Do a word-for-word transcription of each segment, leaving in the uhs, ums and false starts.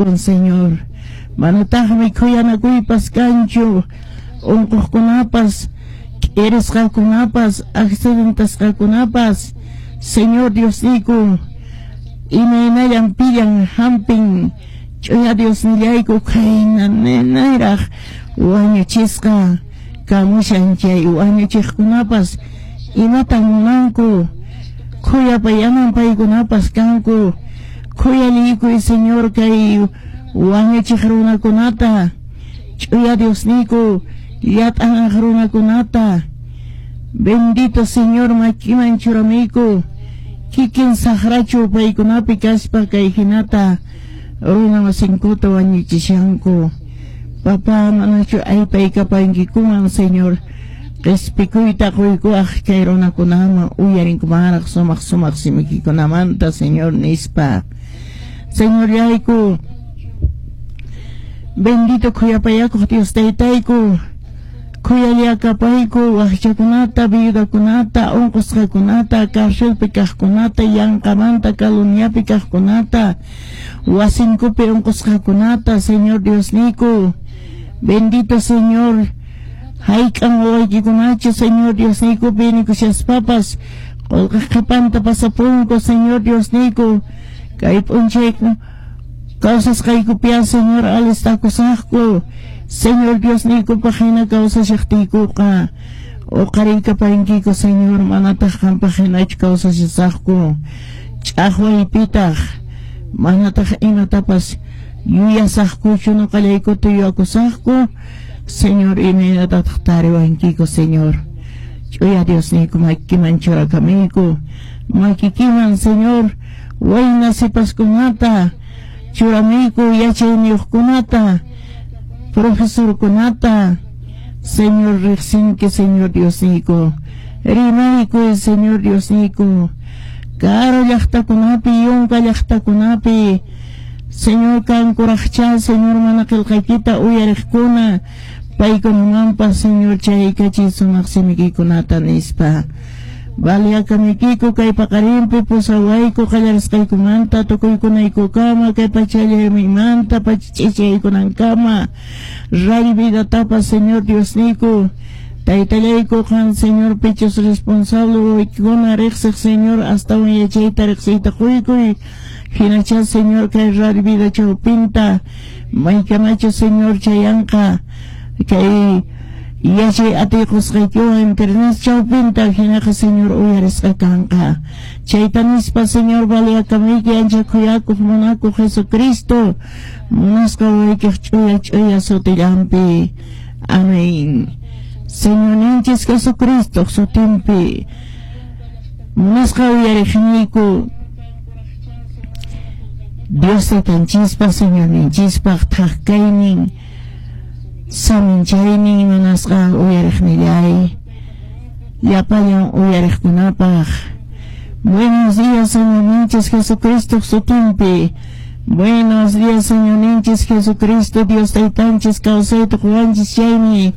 tukun, Señor. Manataqmi khuyanakuypas kanchu, unquqkunapas, k'irisqakunapas, accidentasqakunapas, Señor Diosniyku, imaynallan pillan hampin, ch'uya Diosnillayku khayna ninayraq wañuchisqa kamushan chay wañuchiqkunapas imatan munanku, khuyapayaman paykunapas kanku, khuyaliykuy Señor kay wañuchiq runakunata, ch'uya Diosniyku llat'anaq runakunata, bendito Señor makiman churamiyku, kikin saqrachu paykunapi kaspa kay hinata runa masinkuta wañuchishanku. Papá, manachu aypaykapankikuman, Señor, qhispikuyta quykuwaq kay runakunaman uyarinkumanraq sumaq sumaq simikikunamanta, Señor, nispa. Señorllayku, bendito khuyapayakuq Dios taytayku, khuyallakapayku waqchakunata, viudakunata, unqusqakunata, carcelpi kaqkunata, yanqamanta calumniapi kaqkunata, wasinkupi unqusqakunata, Señor Diosniyku, bendito Señor, hayk'an wawaykikunachu, Señor Diosniyku, pinikushaspapas, qullqi qhipanta pasapunku, Señor Diosniyku, kay p'unchayku kawsasqaykupiya, Señor, alistakusaqku, Señor Diosniykupaq hina kawsashaqtiykuqa, uqariykapankiku, Señor, manataq qampaq hinachu kawsashasaqku, ch'aqwaypitaq, manataq imatapas yuyasaqkuchu nuqallaykuta yuyakusaqku, Señor, imaynatataq tariwankiku, Señor. Ch'uya Diosniyku makiman churakamiyku, makikiman, Señor, wayna sipaskunata churamiyku, yachayniyuqkunata, profesorkunata, Señor, riqsinki, Señor Diosniyku, rimaykuy, Señor Diosniyku, karu llaqtakunapi, yunka llaqtakunapi, Señor kankuraqcha, Señor, mana qillqaykita uyariqkuna, paykunamanpas, Señor, chaykachiy sumaq simikikunata nispa. Baliakamikiku kay paqarinpi pusawayku qallarisqaykumanta tukuykunaykukama kay pachallamimanta pach'ichaykunankama radio vidatapas, Señor Diosniyku, taytallayku qan, Señor, pichus responsable wawaykikuna riqsiq, Señor, astawan yachayta riqsiyta quykuy, hinacha, Señor, kay radio vida chawpinta maykamachu, Señor, chayanqa kay yachay atiqusqaykiwan internet chawpinta hinaqa, Señor, uyarisqa kanqa. Chayta nispa, Señor, baliakamiyki ancha khuyakuq munakuq Jesucristo munasqa wawaykiq ch'uya ch'uya sutillanpi. Amén. Señorninchis Jesucristo sutinpi munasqa uyariqniyku, Dios taytanchispaq, Señorninchispaq thak kaynin saminchaynin munasqa uyariqnillay, llapallan uyariqkunapaq. Buenos días, Señorninchis Jesucristo sutinpi. Buenos días, Señorninchis Jesucristo, Dios taytanchis kawsayta quwanchis chaymi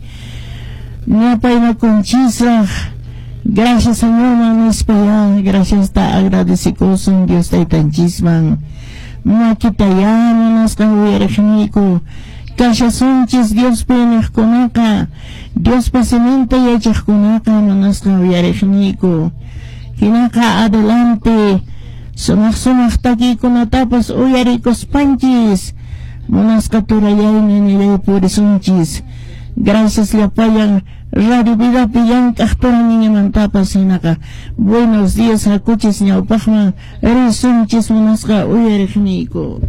ñapaynakunchisraq. Gracias, Señor, nispa ya, gracias ta agradecikusun Dios taytanchisman. Makita ya munasqa uyariqniyku, kashasunchis Diospi niqkunaqa, Diospa siminta yachaqkunaqa munasqa uyariqniyku. Hinaqa adelante, sumaq sumaq takiykunatapas uyarikuspanchis, munasqa turallaymi nillay purisunchis. Gracias llapallan Radio Vidapi llank'aq turañiñamantapas hinaqa. Buenos días, hakuchis ñawpaqman risunchis munasqa uyariqniyku.